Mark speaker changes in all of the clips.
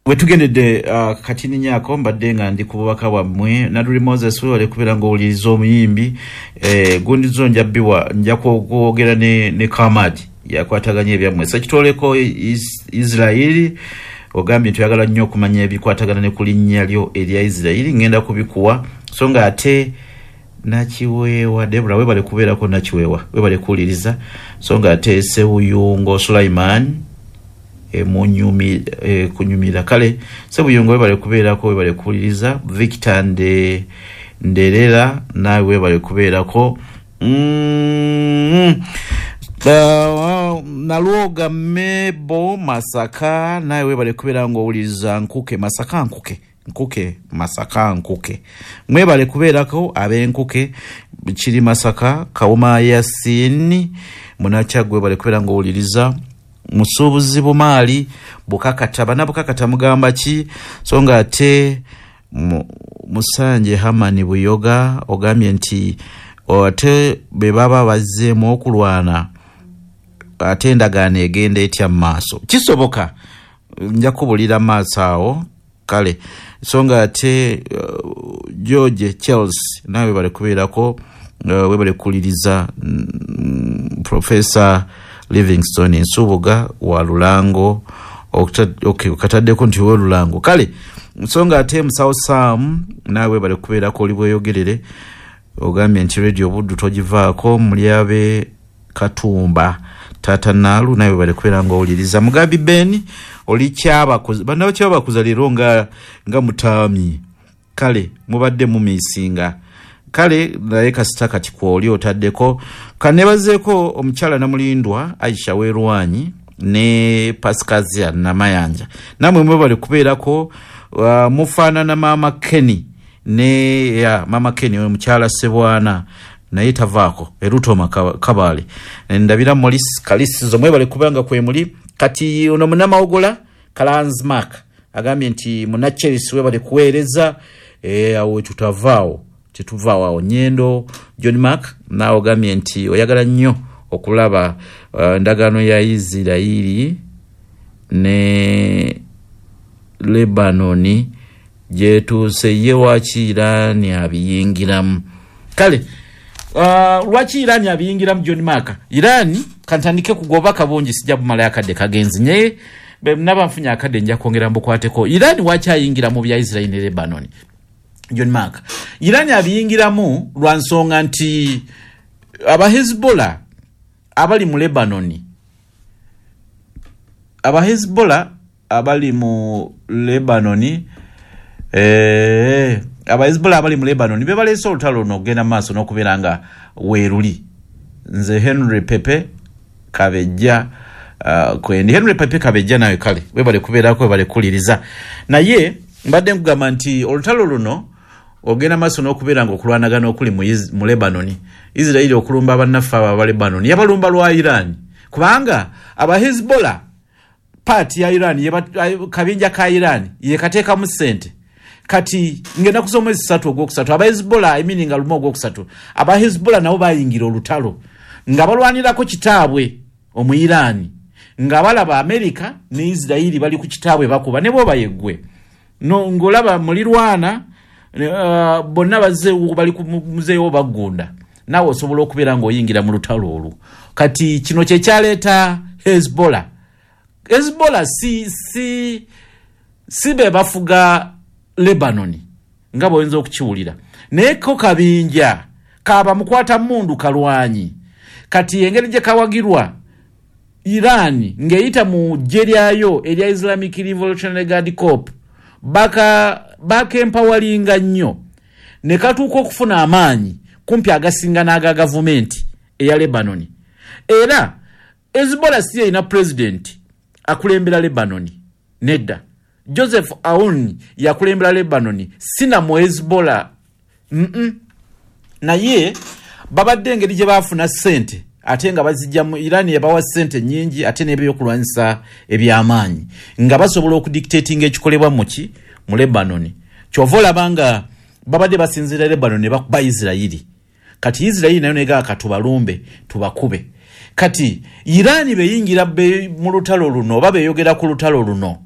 Speaker 1: Wetugendedde katininyako mbadde nga ndi ku bubaka bwammwe. Naduli Moses, webale kubeera ng'owuliriza omuyimbi. Gundi zo nja biwa, nja kwogera ne Kamad yakwataganya ebyammwe. Sekitoleko Israeli ogambye nti oyagala nnyo okumanya ebikwatagana ne ku linnya lyo erya Israeli, ngenda kubikuwa. So nga ate Nakiweewa Debora, webale kubeerako. Nakiweewa, webale kuwuliriza. So nga ate Sewuyungo Sulaiman emunyumi kunyumira. Kale Sebuyungo, webale kubeerako, webale kuwuliriza. Victor Nderera, naawe webale kubeerako. Nalwoga Mebo Masaka, naawe webale kubeera ngaowuliriza. Nkuke Masaka, Nkuke, Nkuke Masaka, Nkuke, mwebale kubeerako ab'Enkuke kiri Masaka. Kawuma Yasini Munakyagwe, webale kubeera ngaowuliriza. Musuubuzi Bumaali Bukakata, bana Bukakata mugamba ki? So nga ate Musanje Hamani Buyoga ogambye nti ate bwe baba bazzeemu okulwana, ate endagaano egenda etya mu maaso? Kisoboka, nja kubulira maaso awo. Kale so nga ate George Charles, nawe webale kubeerako, webale kuwuliriza. Professor Livingstone Nsubuga wa Lulango, okay, okataddeko nti we Lulango. Kale so nga ate Musawo Sam, naawe webale kubeerako, oli bweyogerere. Ogambye nti Radio Buddu togivaako. Mulyabe Katumba Tata Naalu, nawe webale kubeera ngaowuliriza. Mugabi Ben, oli Kyabakuza, bannaba Kyabakuza leero nga mutaami. Kale mubadde mumiisinga. Kale naye kasita kati kwoli otaddeko. Kanebazeeko omukyala Namulindwa Aisha Werwanyi ne Pascazia Namayanja, namwe mwebale kubeerako. Mufaanana Maama Kenny ne ya Maama Kenny, oyo mukyala Sebwana naye tavaako erutoma Kabaale. Ndabira Molis Kalisizo, mwebale kubanga kwemuli. Kati ono Munamawogola Kalansmark agambye nti Munacherisi, webale kuweereza. Awo tutavaawo, tetuvaawo awo. Nyendo John Mark, naawe ogambye nti oyagala nnyo okulaba endagaano ya Isirairi ne Lebanoni gyetuuse. Ye waki Irani abiyingiramu? Kale lwaki Irani abiyingiramu, John Mark? Irani, kantandike kugoba kabungi, sijja bumalayo, akadde kagenzi, naye naba nfunye akadde nja kwongera mbukwateko. Irani waki ayingira mu bya Isirairi ne Lebanoni, John Mark? Irani abiyingiramu lwa nsonga nti Abahezbollah abali mu Lebanoni, Abahezbollah abali mu Lebanoni, Abahezbollah abali mu Lebanoni be baleese olutalo luno okugenda mu maaso n'okubeera nga weeruli. Nze Henry Pepe Kabejja, kwendi Henry Pepe Kabejja, nawe kale webale kubeerako, webale kuwuliriza. Naye mbadde nkugamba nti olutalo luno ogenda maaso n'okubeera nga okulwanagana okuli mu Lebanoni, Isirairi okulumba bannaffe abo aba Lebanoni, yabalumba lwa Iran, kubanga Abahezbollah paati ya Iran, kabinja ka Iran yekateekamu ssente. Kati ngenda kusoma omwezi 3 ogwokusatu, Abahezbollah, I mean nga 1 ogwokusatu, Abahezbollah nabo bayingira olutalo nga balwanirako kitaabwe omu Iran, nga balaba Amerika ne Isirairi bali ku kitaabwe bakuba ne bwoba yeggwe no ng'olaba mulirwana, bonna bazze bali ku muzeewo baggunda, naawe osobola okubeera ng'oyingira mu lutalo olwo. Kati kino kye kyaleeta Hezbollah. Hezbollah si be bafuga Lebanoni nga bw'oyinza okukiwulira, naye ko kabinja kaba mukwata mundu kalwanyi. Kati engeri gye kawagirwa Iran ng'eyita mu ggye lyayo erya Islamic Revolutionary Guard Corps, bakempawalinga nnyo ne katuuka okufuna amaanyi kumpi agasinga n'aga gavumenti eya Lebanoni. Era Hezbollah si erina pulezidenti akulembera Lebanoni, nedda. Joseph Aoun yakulembera Lebanoni, sina mu Hezbollah. Naye babadde engeri gye baafuna ssente ate nga bazijja mu Iran, yabawa ssente nnyingi ate n'ebyokulwanyisa eby'amaanyi, nga basobola okudictatinga ekikolebwa muki mu Lebanoni. Kyova olaba nga babadde basinziira Lebanon ne bakuba Isirayiri. Kati Isirayiri nayo negaa katubalumbe tubakube. Kati Iran beyingira mu lutalo luno oba beyogera ku lutalo luno.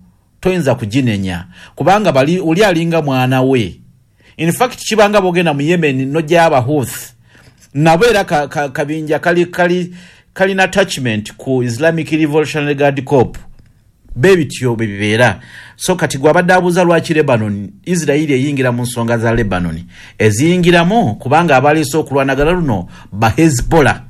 Speaker 1: Toyinza kuginenya kubanga bali oli alinga mwana we. In fact kibanga bogenda mu Yemen nojja aba Houthi nabo era kabinja kalina attachment ku Islamic Revolutionary Guard Corps, bebityo bebibeera. So kati gwabadde abuuza lwaki Lebanon, Israeli eyingira mu nsonga za Lebanon, eziyingiramu kubanga abaleese okulwanagana luno ba Hezbollah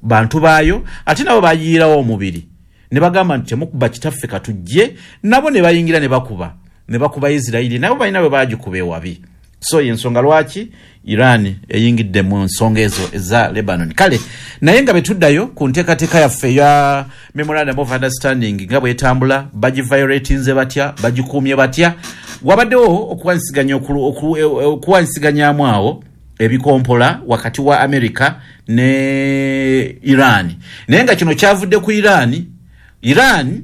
Speaker 1: bantu baayo, ate nabo bayiirawo omubiri ne bagamba nti temukuba kitaffe katujje, nabo ne bayingira ne bakuba Israeli, nabo balina bwe bagikuba ewabi. So yensonga lwaki Iran eyingidde mu nsonga ezo eza Lebanon. Kale naye nga betuddayo ku nteekateeka yaffe ya Memorandum of Understanding nga bwetambula, bagiviolatinze batya, bagikuumye batya, wabaddewo okuwanyisiganyaamu awo ebikompola wakati wa America ne Iran. Naye nga kino kyavudde ku Iran. Iran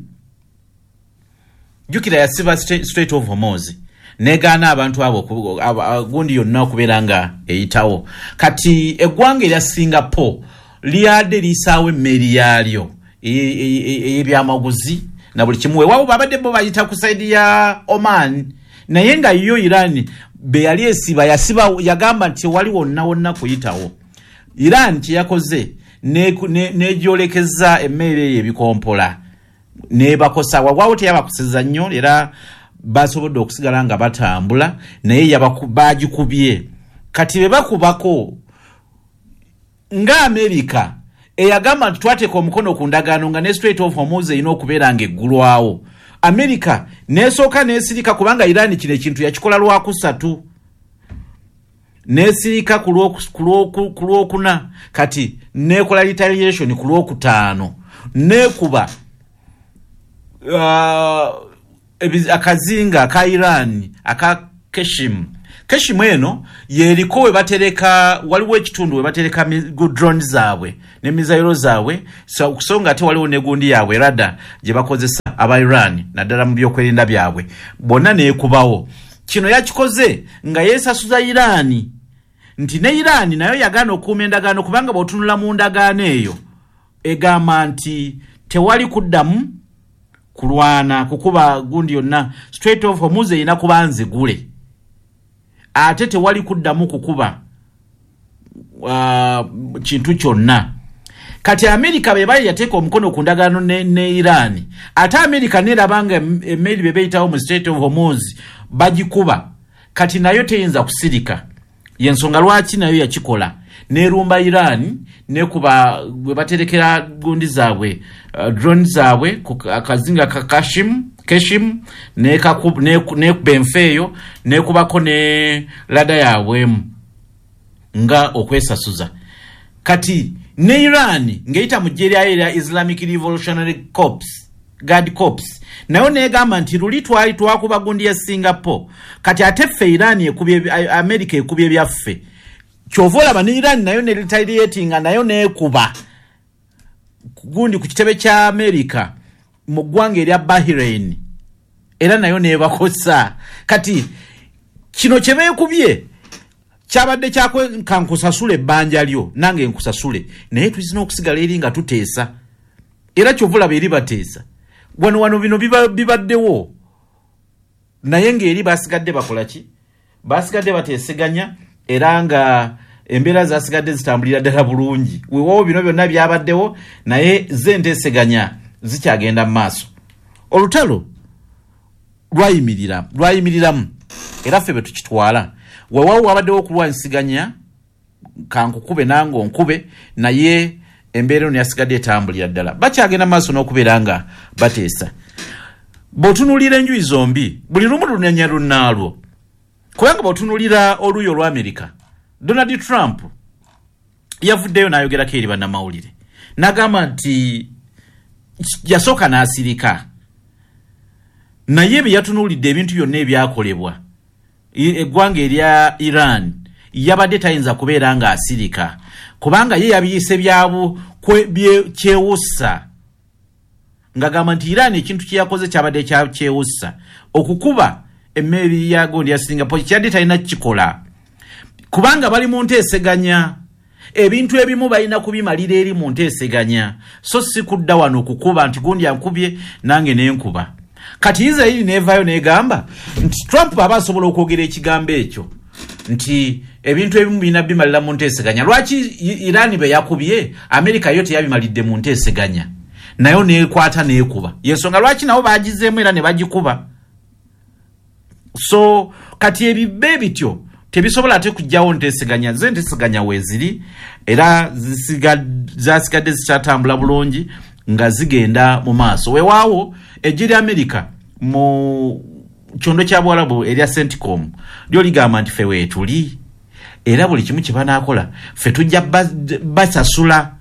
Speaker 1: jjukira yasiba Strait of Hormuz, negaana abantu abo gundi yonna okubeera nga eyitawo. Kati eggwanga erya Singapore lyadde liyisaawo emmeeri yaalyo ey'ebyamaguzi na buli kimu. Weewaawo babadde bo bayita ku saidi ya Oman, naye nga yo Iran be yali esiba yasiba, yagamba nti tewali wonna wonna kuyitawo. Iran kye yakoze negyolekeza emmere eyo ebikompola nebakosa. Wawaawo teyabakoseza nnyo, era basobodde okusigala nga batambula, naye bagikubye. Kati be bakubako nga Amerika eyagamba nti twateeka omukono ku ndagaano nga ne Strait of Hormuz erina okubeera nga eggulwawo, Amerika nesooka nesirika kubanga Iran kino ekintu yakikola lwakusatu, nesirika ku lwokuna, kati nekola retaliation ku lwokutaano, nekuba akazinga aka Iran aka Keshim. Keshim eno yeriko we batereka, waliwo ekitundu we batereka drone zaabwe ne mizayiro zaabwe, so nga ate waliwo ne gundi yaabwe rada gye bakozesa aba Iran naddala mu byokwerinda byabwe, bonna neekubawo. Kino yakikoze nga yeesasuza Iran nti ne Iran nayo yagaana okukuuma endagaano, kubanga bw'otunula mu ndagaano eyo egamba nti tewali kuddamu kulwana kukuba gundi yonna, Strait of Hormuz erina kuba nzigule, ate tewali kuddamu kukuba kintu kyonna. Kati Amerika be bali yateeka omukono ku ndagaano ne Iran, ate Amerika neraba nga emmeeri be beeyitawo mu Strait of Hormuz bagikuba, kati nayo teyinza kusirika. Yensonga lwaki nayo yakikola, nerumba Iran nekuba bwe baterekera gundi zaabwe, drone zaabwe ku akazinga ka Keshim, nekuba enfa eyo, nekubako ne lada yaabwemu nga okwesasuza. Kati ne Iran ng'eyita mu ggye lyayo erya Islamic Revolutionary Corps, Guard Corps, nayo negamba nti luli twali twakuba gundi ya Singapore, kati ate ffe Iran ekubye, America ekubye byaffe. Kyova olaba ne Iran nayo ne retaliatinga, nayo nekuba gundi ku kitebe kya America mu ggwanga erya Bahrain, era nayo nebakosa. Kati kino kye beekubye kyabadde kankusasule ebbanja lyo nange nkusasule, naye tulina okusigala eri nga tuteesa. Era kyova olaba eri bateesa wano wano bino bibaddewo, naye ng'eri basigadde bakola ki? Basigadde bateeseganya, era nga embeera zasigadde zitambulira ddala bulungi. Weewaawo bino byonna byabaddewo, naye ze enteeseganya zikyagenda mu maaso. Olutalo lwayimiriramu, era ffe bwe tukitwala. Weewaawo wabaddewo okulwanyisiganya, kankukube nange onkube, naye embeera eno yasigadde etambulira ddala, bakyagenda maaso n'okubeera nga bateesa. Bw'otunuulira enjuyi zombi, buli lumu lunenya lunnaalwo, kubanga bw'otunuulira oluuyi olwa Amerika, Donald Trump yavuddeyo n'ayogerako eri bannamawulire n'agamba nti yasooka n'asirika, naye bye yatunuulidde ebintu byonna ebyakolebwa eggwanga erya Iran yabadde tayinza kubeera ng'asirika, kubanga ye yabiyise byabu kyewussa, ng'agamba nti Iran ekintu kye yakoze kyabadde kyewussa, okukuba emmeeri ya gundi ya Singapore kyadde talina kukikola, kubanga bali mu nteeseganya. Ebintu ebimu balina kubimalira eri mu nteeseganya, so si kudda wano okukuba nti gundi ankubye nange nenkuba. Kati Isirairi nevaayo negamba nti Trump aba asobola okwogera ekigambo ekyo nti ebintu ebimu birina bimalira mu nteeseganya. Lwaki Iran be yakubye, Amerika yo teyabimalidde mu nteeseganya, nayo nekwata nekuba? Yensonga lwaki nabo bagizeemu era ne bagikuba. So kati ebibe bityo tebisobola ate kujjawo nteeseganya. Ze nteeseganya weeziri era zasigadde zikyatambula bulungi nga zigenda mu maaso. Weewaawo eggye lya Amerika mu kyondo kya Buwalabu erya CENTCOM lyo ligamba nti ffe weetuli, era buli kimu kye banaakola ffe tujja basasula.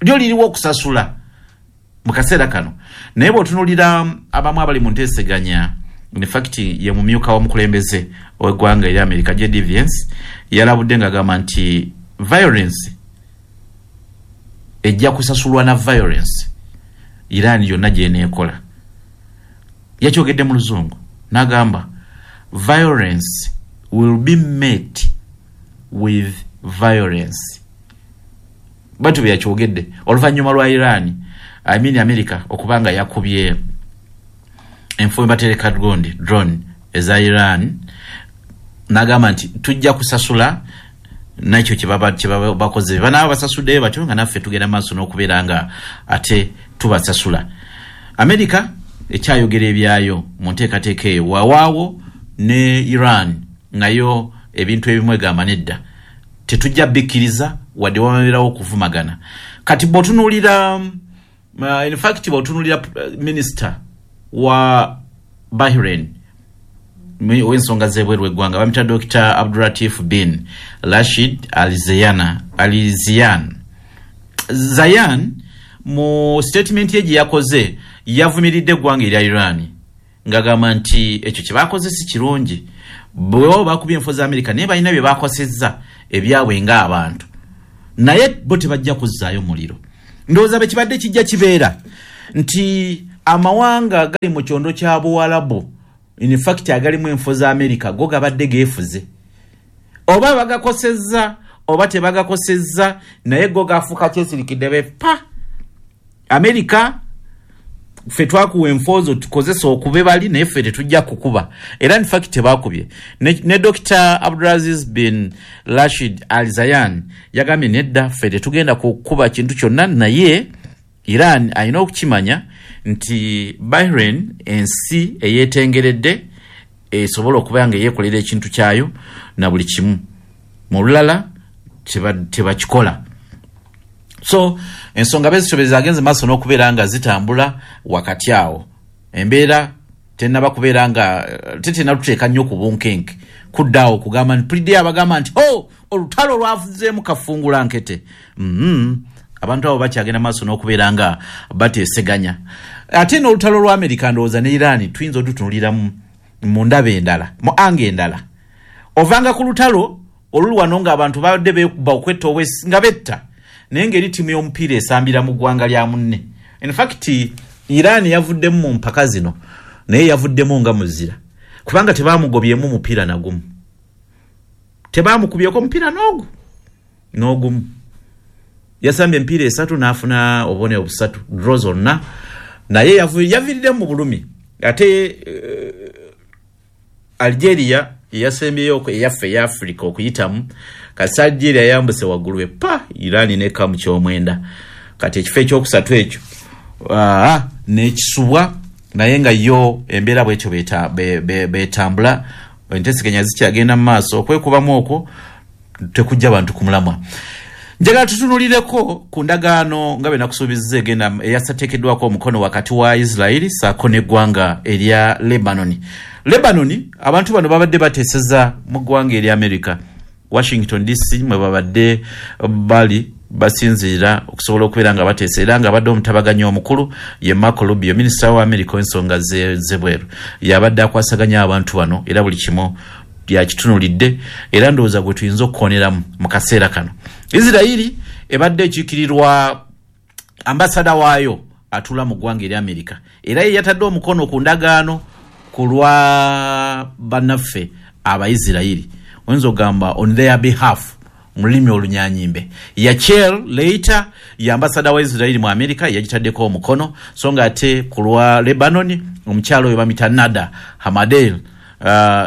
Speaker 1: Lyo liriwo okusasula mu kaseera kano. Naye bw'otunuulira abamu abali mu nteeseganya, in fact ye mumyuka w'omukulembeze ow'eggwanga erya America JD Vance yalabudde ng'agamba nti violence ejja kusasulwa na violence Iran yonna gy'eneekola. Yakyogedde mu Luzungu n'agamba violence will be met with violence. Bwatyo bwe yakyogedde oluvannyuma lwa Iran, I mean America, okuba nga yakubye enfume batereka gondi drone eza Iran, n'agamba nti tujja kusasula nakyo kyebaba bakoze. Banaaba basasuddeyo batyo nga naffe tugenda maaso n'okubeera nga ate tubasasula. Amerika ekyayogera ebyayo mu nteekateeka eyo. Wawaawo ne Iran nayo ebintu ebimu egamba nedda, tetujja bikkiriza wadde wabeerawo okuvumagana. Kati bw'otunuulira, in fact bw'otunuulira minisita wa Bahrain ow'ensonga z'ebweru w'eggwanga bamuyita Dr Abdulatif bin Rashid Al Ziyan Zayan, mu statement ye gye yakoze yavumiridde eggwanga erya Iran ng'agamba nti ekyo kye bakoze si kirungi. Bwe bakubye enfo za Amerika, naye balina bye bakosezza ebyabwe ng'abantu, naye bo tebajja kuzzaayo muliro. Ndowooza bwe kibadde kijja kibeera nti amawanga gali mu kyondo kya Buwalabu, in fact agalimu enfo za Amerika, go gabadde geefuze, oba bagakosezza oba tebagakosezza, naye go gafuuka kyesirikidde bepa Amerika, ffe twakuwa enfoozo tukozesa okube bali, naye ffe tetujja kukuba. Era in fact tebakubye. Ne Dr Abdulaziz bin Rashid Al Zayan yagambye nedda, ffe tetugenda kukuba kintu kyonna, naye Iran alina okukimanya nti Bahrain ensi eyeetengeredde, esobola okuba nga eyeekolera ekintu kyayo na buli kimu. Mu lulala tebakikola. So ensonga bezityo zagenze maaso n'okubeera nga zitambula wakati awo. Embeera tenaba kubeera nga tetenatuteeka nnyo ku bunkenke kuddaawo okugamba nti pulidde abagamba nti o olutalo lwavuzeemu kafungula nkete. Abantu abo bakyagenda maaso n'okubeera nga bateeseganya. Ate n'olutalo lwa Amerika ndowooza ne Iran tuyinza otutunulira mu ndaba endala, mu angle endala. Ovanga ku lutalo oluli wano ng'abantu babadde beekuba okwetta obwesi nga betta, naye ng'eri ttiimu y'omupiira esambira mu ggwanga lya munne. In fact Iran yavuddemu mu mpaka zino, naye yavuddemu nga muzira, kubanga tebamugobyemu mupiira nagumu, tebamukubyeko mupiira n'ogu n'ogumu. Yasambye emipiira esatu n'afuna obubonero busatu, draw zonna, naye yaviiriddemu mu bulumi. Ate Algeria yeyasembyeyo eyaffe eya Africa okuyitamu. Kasi Algeria yayambuse waggulu epa Iran nekka mu kyomwenda. Kati ekifo ekyokusatu ekyo nekisubwa, naye nga yo embeera bwetyo betambula. Enteeseganya zikyagenda mu maaso, okwekubamu okwo tekujja bantu ku mulamwa. Njagala tutunulireko ku ndagaano nga bwe nakusuubizza egenda eyasateekeddwako omukono wakati wa Isirairi saako n'eggwanga erya Lebanon. Lebanon, abantu bano babadde bateeseza mu ggwanga erya America, Washington DC mwe babadde bali basinziira okusobola okubeera nga bateesa, era nga abadde omutabaganyi omukulu ye Marco Rubio, minisita wa America w'ensonga z'ebweru, yabadde akwasaganya abantu bano era buli kimu yakitunulidde, era ndowooza gwe tuyinza okukoneramu mu kaseera kano. Isirairi ebadde ekiikirirwa ambasada waayo atuula mu ggwanga erya Amerika, era ye yatadde omukono ku ndagaano ku lwa bannaffe Abaisirairi, oyinza okugamba on their behalf. Mu lulimi olunyanyimbe, Yechiel Leiter ye ambasada wa Israeli mu America, yagitaddeko omukono. So nga ate ku lwa Lebanon, omukyalo oyo bamita Nada Hamadel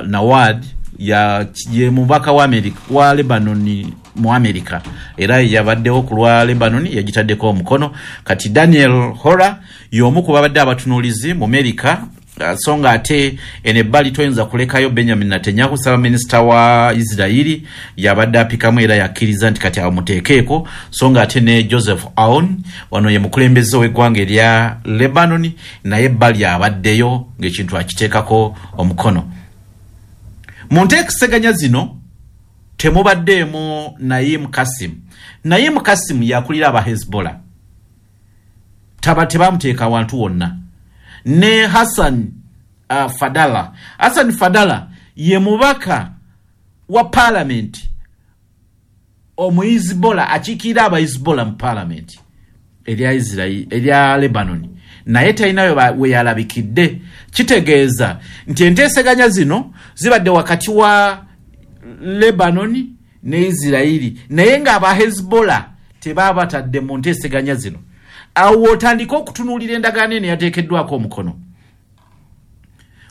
Speaker 1: Nawad, ye mubaka wa America, wa Lebanon mu America, era yabaddewo ku lwa Lebanon, yagitaddeko omukono. Kati Daniel Hora y'omu ku babadde abatunuulizi mu America. So nga ate eno ebbali toyinza kulekayo Benjamin Netanyahu, ssaabaminisita wa Isirairi, yabadde apikamu era yakkiriza nti kati amuteekeeko. So nga ate ne Joseph Aoun, wano ye mukulembeze ow'eggwanga erya Lebanon, naye ebbali abaddeyo ng'ekintu akiteekako omukono. Mu nteeseganya zino temubaddeemu Naim Kasim. Naim Kasim yakulira aba Hezbollah, taba tebamuteeka wantu wonna. Ne Hassan Fadala. Hassan Fadala ye mubaka wa parliament omuhizbola, akiikirira abahizbola mu parliament erya Israel, erya Lebanon, naye talinayo we yalabikidde. Kitegeeza nti enteeseganya zino zibadde wakati wa Lebanon ne Isirairi, naye ng'aba Hezbollah tebabatadde mu nteeseganya zino. Awo otandika okutunuulira endagaano eno yateekeddwako omukono,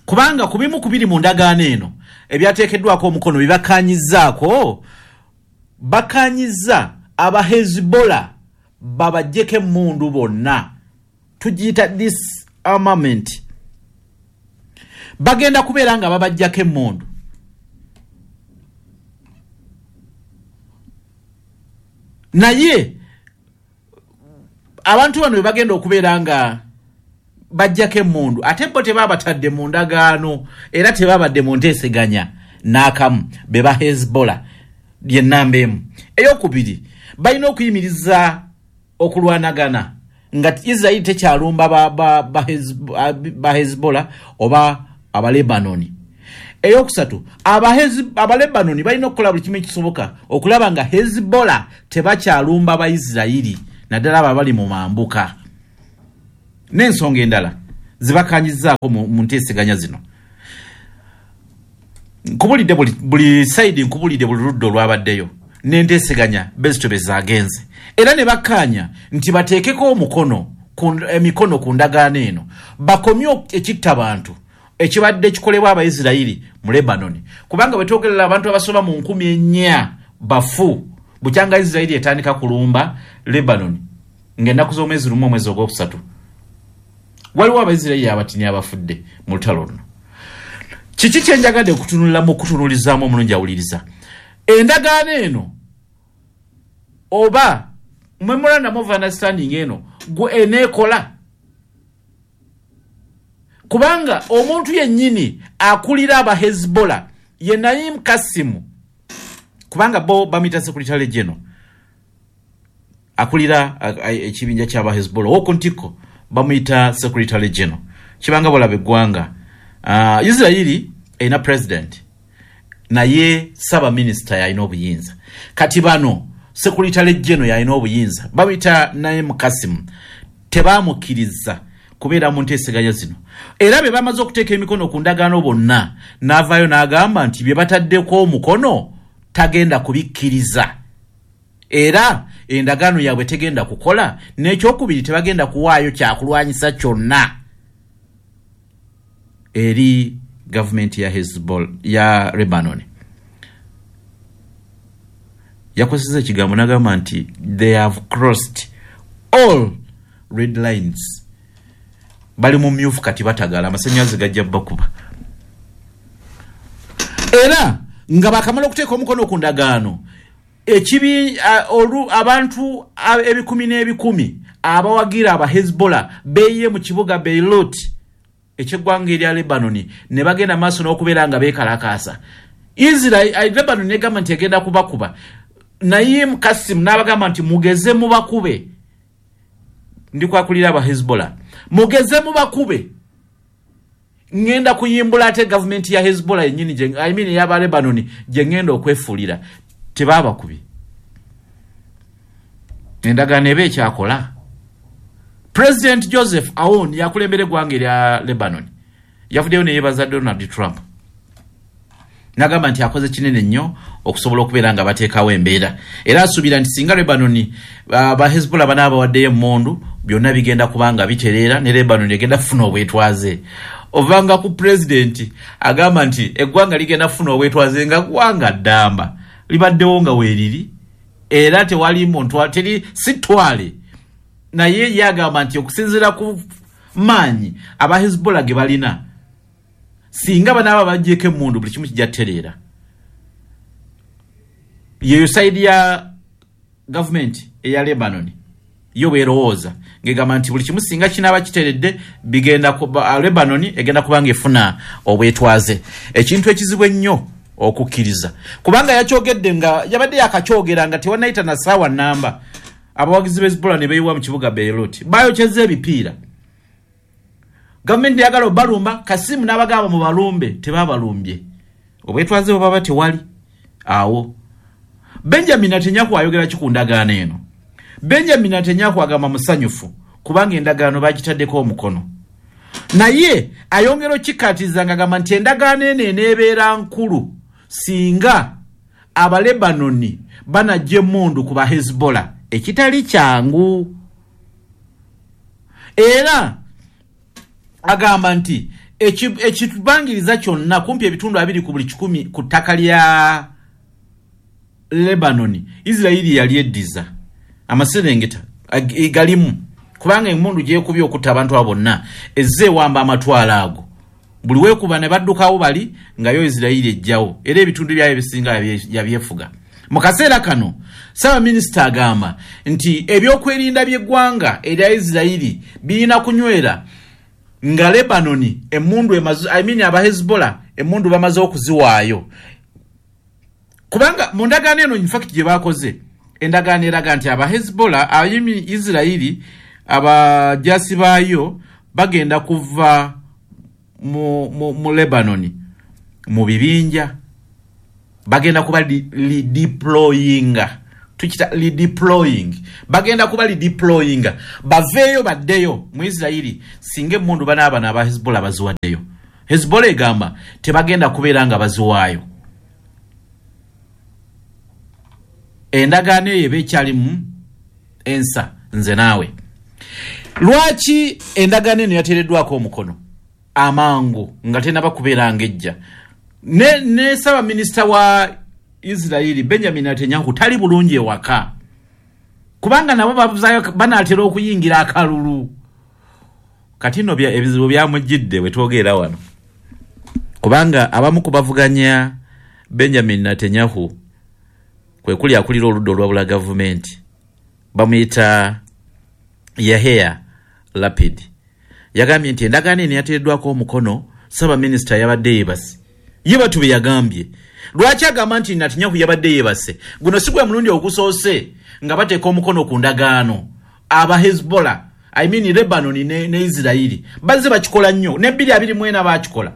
Speaker 1: kubanga ku bimu ku biri mu ndagaano eno ebyateekeddwako omukono bibakanyizzaako, bakanyiza aba Hezbollah babajjeko emmundu bonna, tugiyita disarmament. Bagenda kubeera nga babajjako emmundu. Naye abantu bano bwe bagenda okubeera nga bajjako emmundu, ate bo tebabatadde mu ndagaano era tebabadde mu nteeseganya n'akamu, be ba Hezbollah. Yennamba emu. Eyokubiri, balina okuyimiriza okulwanagana nga Israeli tekyalumba ba Hezbollah oba Abalebanoni. Eyokusatu, Abalebanoni balina okukola buli kimu ekisoboka okulaba nga Hezbollah tebakyalumba Baisirairi, naddala abo abali mu mambuka. N'ensonga endala zibakanyizaako mu nteeseganya zino. Nkubulidde buli sayidi, nkubulidde buli ludda olwabaddeyo n'enteeseganya bezito be zaagenze, era ne bakkaanya nti bateekeko omukono emikono ku ndagaano eno, bakomye ekitta bantu ekibadde kikolebwa Abaisirairi mu Lebanon, kubanga bwe twogerera abantu abasoba mu 4000 bafu bukyanga Isirairi etandika kulumba Lebanon ng'ennaku z'omwezi 1 omwezi ogwokusatu. Waliwo Abaisirairi abatini abafudde mu lutalo luno. Kiki kye njagadde okutunuliramu, okutunuulizaamu omulungi awuliriza? Endagaano eno oba memorandum of understanding eno gwe eneekola, kubanga omuntu yennyini akulira aba Hezbollah ye Naim Kasim, kubanga bo bamuyita secretary general, akulira ekibinja ky'aba Hezbollah ow'oku ntikko bamuyita secretary general. Kibanga bolaba eggwanga Israeli erina president, naye ssaabaminisita yalina obuyinza. Kati bano secretary general yalina obuyinza, bamuyita Naim Kasim, tebamukkiriza kubeera mu nteeseganya zino. Era be bamaze okuteeka emikono ku ndagaano bonna, n'avaayo n'agamba nti bye bataddeko omukono tagenda kubikkiriza, era endagaano yaabwe tegenda kukola. N'ekyokubiri, tebagenda kuwaayo kyakulwanyisa kyonna eri gavumenti ya Hezbollah ya Lebanon. Yakozesa ekigambo n'agamba nti they have crossed all red lines. Bali mu myufu kati batagala, amasannyalaze gajja bakuba. Era nga bakamala okuteeka omukono ku ndagaano, ekibi abantu ebikumi n'ebikumi abawagira aba Hezbollah beeyiye mu kibuga Beirut ekyeggwanga erya Lebanon, ne bagenda maaso n'okubeera nga beekalakaasa. Israel, Lebanon negamba nti egenda kubakuba. Naim Kasim n'abagamba nti mugeze mubakube, ndikwakulira aba Hezbollah, mugeze mubakube, ngenda kuyimbula ate gavumenti ya Hezbollah yennyini, I mean ey'aba Lebanon gye ngenda okwefuulira. Tebaabakubye. Endagaano eba ekyakola. President Joseph Aoun yakulembera eggwanga erya Lebanon, yavuddeyo ne yeebaza Donald Trump Nagamba nti akoze kinene nnyo okusobola okubeera nga bateekawo embeera, era asuubira nti singa Lebanon ba Hezbollah banaaba bawaddeyo emmundu, byonna bigenda kubanga bitereera ne Lebanon egenda kufuna obwetwaze. Ovanga ku pulezidenti agamba nti eggwanga ligenda kufuna obwetwaze, nga ggwanga ddamba libaddewo nga weeriri, era tewali muntu, teri si ttwale. Naye ye agamba nti okusinziira ku maanyi aba Hezbollah ge balina, singa banaaba baggyeko emmundu, buli kimu kijja kutereera. Yeyo side ya gavumenti eya Lebanon yo bwerowooza, ngegamba nti buli kimu singa kinaaba kiteredde, bigenda Lebanon egenda kubanga efuna obwetwaze. Ekintu ekizibu ennyo okukkiriza, kubanga yakyogedde nga yabadde yakakyogera nga tewanayita na ssaawa namba, abawagizi b'e Hezbollah ne beeyiwa mu kibuga Beirut, bayokyezza ebipiira. Gavumenti yagala obalumba, Kasimu n'abagamba mu balumbe, tebabalumbye. Obwetwaze bwe baba tewali awo. Benjamin Netanyahu ayogera ki ku ndagaano eno? Benjamin Netanyahu agamba musanyufu kubanga endagaano bagitaddeko omukono, naye ayongera okikkaatiriza ng'agamba nti endagaano eno eneebeera nkulu singa Abalebanoni banajja emmundu ku ba Hezbollah, ekitali kyangu. Era agamba nti ekibangiriza kyonna kumpi ebitundu 20% ku ttaka lya Lebanoni Isirayiri yali eddiza amaserengeta galimu, kubanga emmundu gyekubye okutta abantu abo bonna ezze ewamba amatwalo ago. Buli weekuba ne baddukawo bali nga yo Isirayiri ejjawo, era ebitundu byayo ebisinga yabyefuga. Mu kaseera kano ssaabaminisita agamba nti ebyokwerinda by'eggwanga erya Isirayiri birina kunywera nga Lebanoni emmundu emaze, I mean aba Hezbollah emmundu bamaze okuziwaayo, kubanga mu ndagaano eno in fact gye bakoze, endagaano eraga nti aba Hezbollah, I mean Isirayiri, abajasi baayo bagenda kuva mu Lebanon mu bibinja, bagenda kuba redeployinga, tukita redeploying, bagenda kuba redeployinga baveeyo baddeyo mu Isirayiri singa emmundu banaaba aba Hezbollah baziwaddeyo. Hezbollah egamba tebagenda kubeera nga baziwaayo. Endagaano eyo eba ekyalimu ensa. Nze naawe, lwaki endagaano eno yateereddwako omukono amangu nga tenaba kubeera ng'ejja? Ne ssaabaminisita wa Isirayiri Benjamin Netanyahu tali bulungi ewaka, kubanga nabo banaatera okuyingira akalulu. Kati nno ebizibu byamujjidde bwe twogerera wano, kubanga abamu ku bavuganya Benjamin Netanyahu, kwe kuli akulira oludda olwabula gavumenti bamuyita Yair Lapid, yagambye nti endagaano eno yateereddwako omukono ssaabaminisita yabadde yeebase. Ye batu bye yagambye. Lwaki agamba nti Netanyahu yabadde yeebase? Guno si gwe mulundi ogusoose nga bateeka omukono ku ndagaano aba Hezbollah, I mean Lebanon ne Isirayiri. Bazze bakikola nnyo, ne 2024 bakikola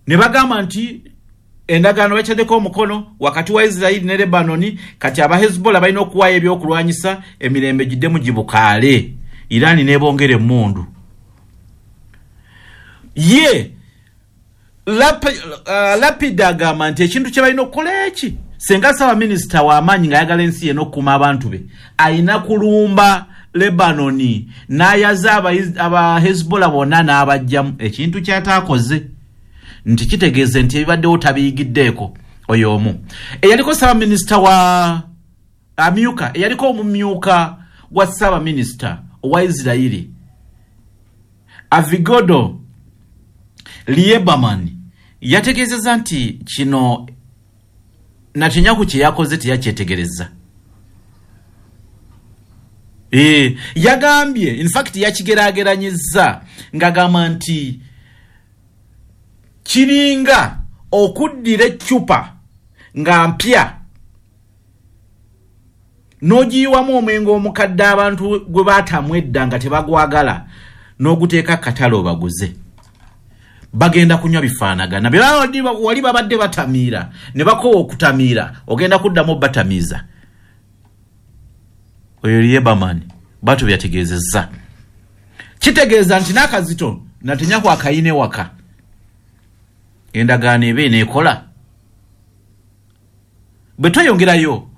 Speaker 1: ne bagamba nti endagaano bakyaddeko omukono wakati wa Isirayiri ne Lebanoni, kati aba Hezbollah balina okuwaayo ebyokulwanyisa emirembe giddemu gibukaale, Irani nebongera emmundu. Ye Lapid agamba nti ekintu kye balina okukola eki, senga ssaabaminisita w'amaanyi ng'ayagala ensi ye n'okukuuma abantu be, ayina kulumba Lebanoni n'ayaza aba Hezbollah bonna n'abajjamu, ekintu kyataakoze, nti kitegeeze nti ebibaddewo tabiyigiddeeko. Oyo omu eyaliko ssaabaminisita wa amyuka, eyaliko omumyuka wa ssaabaminisita owa Isirayiri Avigdor Lieberman yategeezezza nti kino Netanyahu kye yakoze teyakyetegereza. Yagambye in fact yakigeraageranyizza ng'agamba nti kiringa okuddira eccupa nga mpya n'ogiyiwamu omwenge omukadde abantu gwe baatamu edda nga tebagwagala, n'oguteeka katale obaguze, bagenda kunywa bifaanagana. Wali babadde batamiira ne bakowa okutamiira, ogenda kuddamu batamiiza. Oyo Lieberman bwatyo byategeezezza. Kitegeeza nti n'akazito Netanyahu akayina ewaka. Endagaano eba eneekola. Bwe tweyongerayo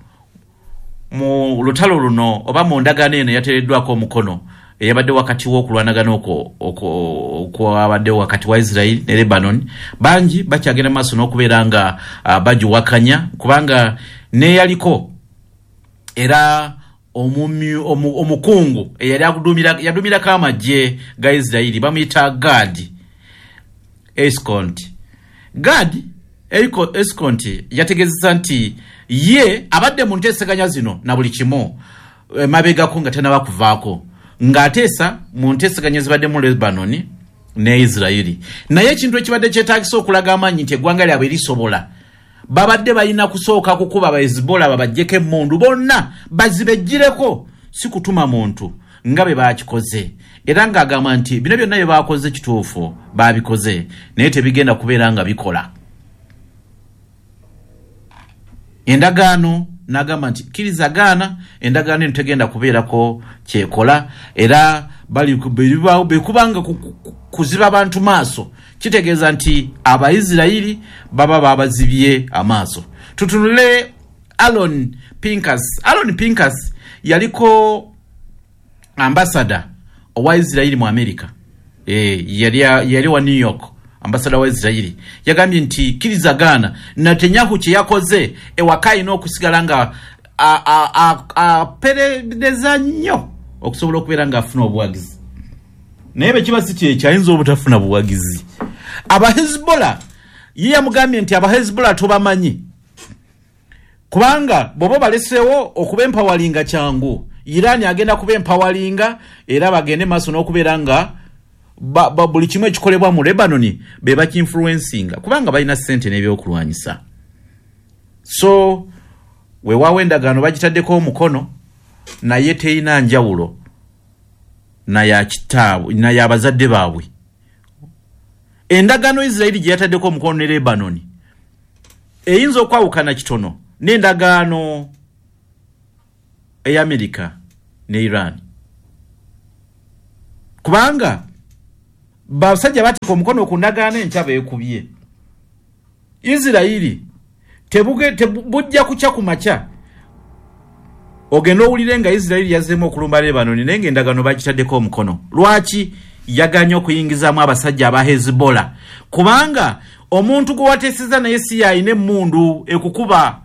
Speaker 1: mu lutalo luno oba mu ndagaano eno eyateereddwako omukono eyabadde wakati w'okulwanagana okwo okwabadde wakati wa Israel ne Lebanon, bangi bakyagenda maaso n'okubeera nga bagiwakanya, kubanga neyaliko era omukungu eyali yaduumirako amagye ga Israeli bamuyita Gad Eisenkot. Gad Eisenkot yategeezezza nti ye abadde mu nteeseganya zino na buli kimu mabegako nga tanaba kuvaako, ng'ateesa mu nteeseganya zibadde mu Lebanon ne Israeli. Naye ekintu ekibadde kyetaagisa okulaga amaanyi nti eggwanga lyabwe lisobola, babadde balina kusooka kukuba ba Hezbollah babaggyeko emmundu bonna bazibejjireko, si kutuma muntu nga bwe bakikoze. Era ng'agamba nti bino byonna bye bakoze kituufu babikoze, naye tebigenda kubeera nga bikola endagaano. N'agamba nti kkiriza gaana, endagaano eno tegenda kubeerako kyekola. Era bekubanga kuziba abantu maaso, kitegeeza nti Abaisirayiri baba babazibye amaaso. Tutunule Alon Pinkas. Alon Pinkas yaliko ambasada owa Isirayiri mu Amerika, yali wa New York, ambasada wa Isirayiri. Yagambye nti kkiriza gaana, Netanyahu kye yakoze ewaka alina okusigala nga aperereza nnyo okusobola okubeera ng'afuna obuwagizi, naye bwe kiba si kyekyo ayinza obutafuna buwagizi. Abahezbollah ye yamugambye nti Abahezbollah tobamanyi, kubanga bw'oba baleseewo okuba empawalinga kyangu, Iran agenda kuba empawalinga, era bagende maaso n'okubeera nga buli kimu ekikolebwa mu Lebanon be bakinfluencinga, kubanga balina ssente n'ebyokulwanyisa. So weewaawo endagaano bagitaddeko omukono, naye terina njawulo naye abazadde baabwe. Endagaano Isirayiri gye yataddeko omukono ne Lebanon eyinza okwawukana kitono n'endagaano ey'Amerika ne Iran, kubanga basajja bateeka omukono ku ndagaano enkya beekubye. Isirayiri bujja kukya ku makya ogenda owulire nga Isirayiri yazzeemu okulumba Lebanon, naye ng'endagaano bagitaddeko omukono. Lwaki yaganye okuyingizaamu abasajja aba Hezbollah? Kubanga omuntu gwe wateeseza naye si y'alina emmundu ekukuba.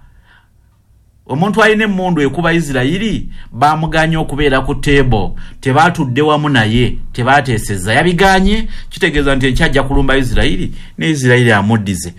Speaker 1: Omuntu alina emmundu ekuba Isirayiri bamuganye okubeera ku table, tebatudde wamu naye, tebateeseza, yabiganye. Kitegeeza nti enkya ajja kulumba Isirayiri ne Isirayiri amuddize.